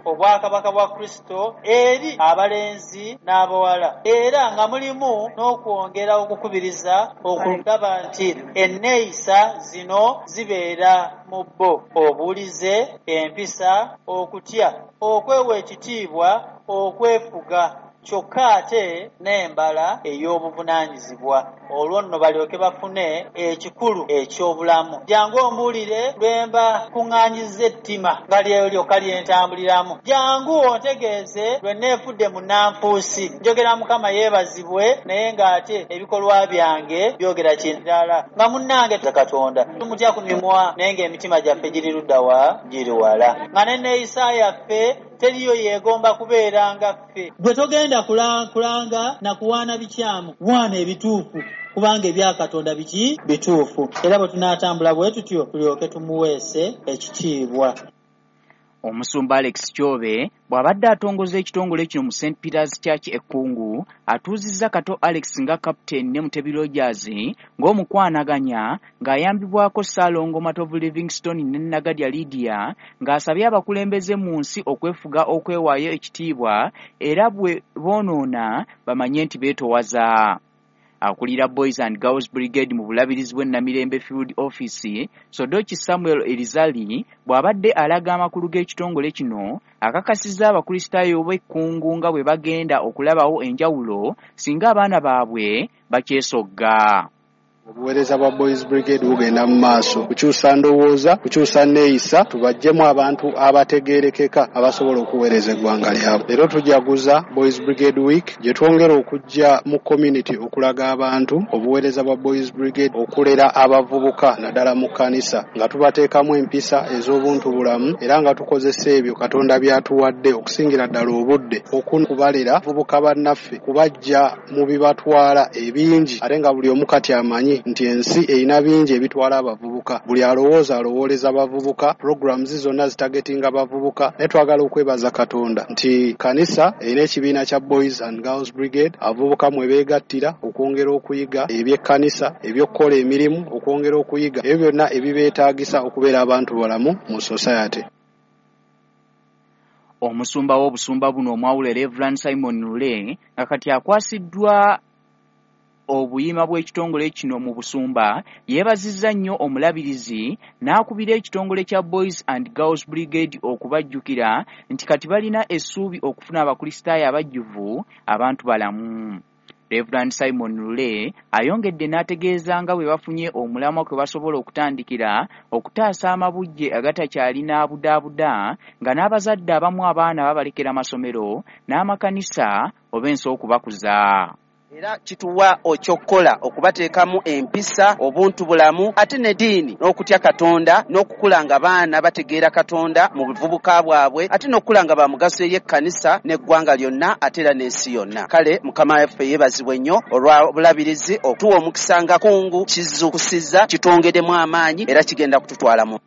Obwakabaka bwa Kristo eri abalenzi n'abawala era nga mulimu n'okwongera okukubiriza okulaba nti enneeyisa zino zibeera mu bo, obuwulize, empisa, okutya, okwewa ekitiibwa, okwefuga kyokka ate n'embala ey'obuvunaanyizibwa olwo nno balyoke bafune ekikulu eky'obulamu. Jangu ombuulire lwe mba kuŋŋaanyizza ettima nga lye lyokka lye ntambuliramu. Jangu ontegeeze lwe neefudde munnanfuusi. Njogera Mukama yeebazibwe naye ng'ate ebikolwa byange byogera kirala. Nga munnange Katonda tumutya ku mimwa naye ng'emitima gyaffe giri ludda wa? Giri wala. Nga n'enneeyisa yaffe teriyo yeegomba kubeera nga ffe. Ggwe togenda kulanga na kuwaana bikyamu, waana ebituufu, kubanga ebya Katonda biki? Bituufu. Era bwe tunaatambula bwe tutyo, tulyoke tumuweese ekitiibwa. Omusumba Alex Kyobe bw'abadde atongoza ekitongole kino mu St Peters Church e Kkungu, atuuzizza Kato Alex nga kapiteeni ne Mutebi Rogers ng'omukwanaganya ng'ayambibwako Ssaalongo Matovu Livingstone ne Nagadya Lydia ng'asabye abakulembeze mu nsi okwefuga okwewaayo ekitiibwa era bwe boonoona bamanye nti beetowaza. Akulira Boys and Girls Brigade mu Bulabirizi bw'e Namirembe Field Office, Sodoki Samuel Erizali bw'abadde alaga amakulu g'ekitongole kino, akakasizza Abakristaayo b'e Kkungu nga bwe bagenda okulabawo enjawulo singa abaana baabwe bakyesogga. Obuweereza bwa Boys Brigade bugenda mu maaso kukyusa ndowooza, kukyusa nneeyisa, tubaggyemu abantu abategeerekeka abasobola okuweereza eggwanga lyabwe. Leero tujaguza Boys Brigade Week gye twongera okujja mu community okulaga abantu obuweereza bwa Boys Brigade, okulera abavubuka naddala mu kkanisa nga tubateekamu empisa ez'obuntu bulamu era nga tukozesa ebyo Katonda by'atuwadde okusingira ddala obudde okubalera abavubuka bannaffe kubaggya mu bibatwala ebingi ate nga buli omu kati amanyi nti ensi erina bingi ebitwala abavubuka. Buli alowooza alowooleza bavubuka, programs zonna zitagetinga bavubuka, naye twagala okwebaza Katonda nti kkanisa erina ekibiina kya Boys and Girls Brigade abavubuka mwe beegattira okwongera okuyiga eby'ekkanisa, eby'okukola emirimu, okwongera okuyiga ebyo byonna ebibeetaagisa okubeera abantu balamu mu society. Omusumba w'obusumba buno omwawule Rev. Simon Lule nga kati akwasiddwa obuyima bw'ekitongole kino mu busumba yeebazizza nnyo omulabirizi n'akubira ekitongole kya Boys and Girls Brigade okubajjukira nti kati balina essuubi okufuna Abakristaayo abajjuvu abantu balamu. Rev. Simon Lule ayongedde n'ategeeza nga bwe bafunye omulamwa kwe basobola okutandikira okutaasa amabujje agatakyalina budaabuda nga n'abazadde abamu abaana babalekera masomero n'amakanisa oba ensi okubakuza. Era kituwa eky'okukola okubateekamu empisa, obuntu bulamu ate n'eddiini n'okutya Katonda n'okukula nga baana bategeera Katonda mu buvubuka bwabwe ate n'okukula nga ba mugaso eri ekkanisa n'eggwanga lyonna ate era n'ensi yonna. Kale Mukama waffe yeebazibwe nnyo olwa Bulabirizi okutuwa omukisa nga Kkungu kizuukusizza kitwongeddemu amaanyi era kigenda kututwala mu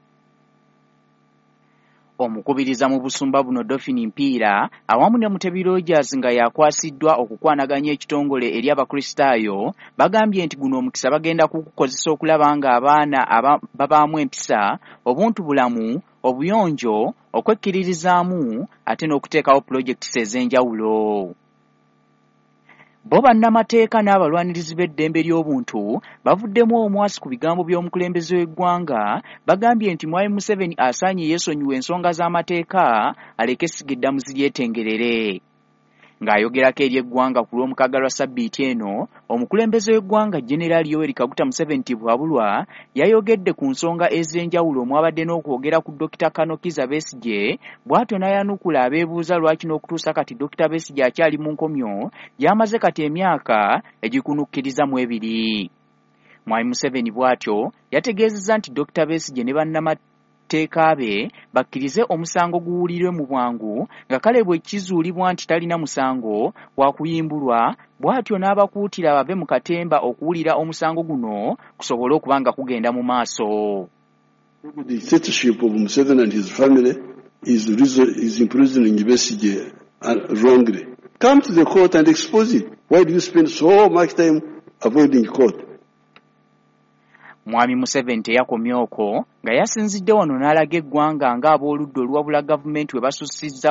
Omukubiriza mu busumba buno Dolphin Mpiira awamu ne Mutebi Rogers nga y'akwasiddwa okukwanaganya ekitongole eri Abakristaayo bagambye nti guno omukisa bagenda kugukozesa okulaba ng'abaana babaamu empisa, obuntubulamu, obuyonjo, okwekkiririzaamu ate n'okuteekawo pulojekiti ez'enjawulo. Bo bannamateeka n'abalwanirizi b'eddembe ly'obuntu bavuddemu omwasi ku bigambo by'omukulembeze w'eggwanga bagambye nti Mwami Museveni asaanye yeesonyiwe ensonga z'amateeka aleke essiga eddamuzi lyetengerere. Ng'ayogerako eri eggwanga ku Lwomukaaga lwa ssabbiiti eno, omukulembeze w'eggwanga Generaali Yoweri Kaguta Museveni Tibuhaburwa yayogedde ku nsonga ez'enjawulo omwabadde n'okwogera ku Dokita Kano Kizza Besigye bw'atyo n'ayanukula abeebuuza lwaki n'okutuusa kati Dokita Besigye akyali mu nkomyo gy'amaze kati emyaka egikunukkiriza mu ebiri. Mwami Museveni bw'atyo yategeezezza nti Dokita Besigye ne bannamateeka be bakkirize omusango guwulirwe mu bwangu nga kale bwe kizuulibwa nti talina musango wakuyimbulwa bw'atyo n'abakuutira bave mu katemba okuwulira omusango guno kusobole okuba nga kugenda mu maaso. The dictatorship of Museveni and his family is imprisoning Besigye wrongly. Come to the court and expose it. Why do you spend so much time avoiding court? Mwami Museveni teyakomye okwo nga yasinzidde wano n'alaga eggwanga ng'ab'oludda oluwabula gavumenti we basussizza